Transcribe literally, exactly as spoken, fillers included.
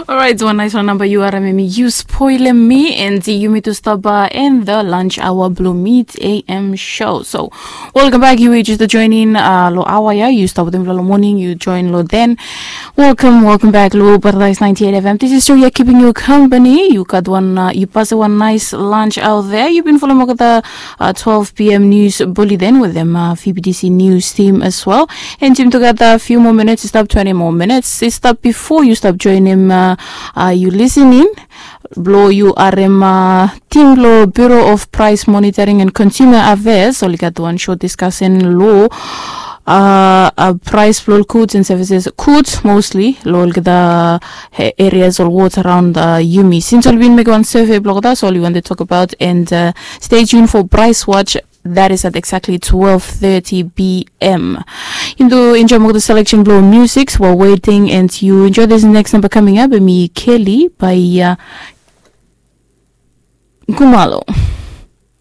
Orait, wan nais wan namba yu harim em i yu spoilem mi, and yumi tu stap in the lunch hour blong Meet A M show. So, welcome back. Yu we just join in uh, lo awa ya. Yu stap wetem lo morning, yu join lo then. Welcome, welcome back lo Paradise ninety-eight F M. This is Joya keeping you company. Yu gat wan, uh, yu pass wan nice lunch out there. Yu bin follow olgeta uh, twelve p.m. news bulletin wetem uh, V B T C news team as well. And yumi tu gat a few more minutes, i stap twenty more minutes. I stap before yu stap joinim uh, uh, yu listening. Blo yu harim uh, team blo Bureau of Price Monitoring and Consumer Affairs oli gat wan short discussion lo uh, uh, price blo goods and services, goods mostly lo olgeta uh, areas or wards around uh, yumi. Since oli bin mekem wan survey blo olgeta, so oli want to talk about and uh, stay tuned for Price Watch. That is at exactly twelve thirty p.m. Yumi tu enjoy more the selection blo music while waiting, and you enjoy this next number coming up. Mi Kelly by uh, Kumalo.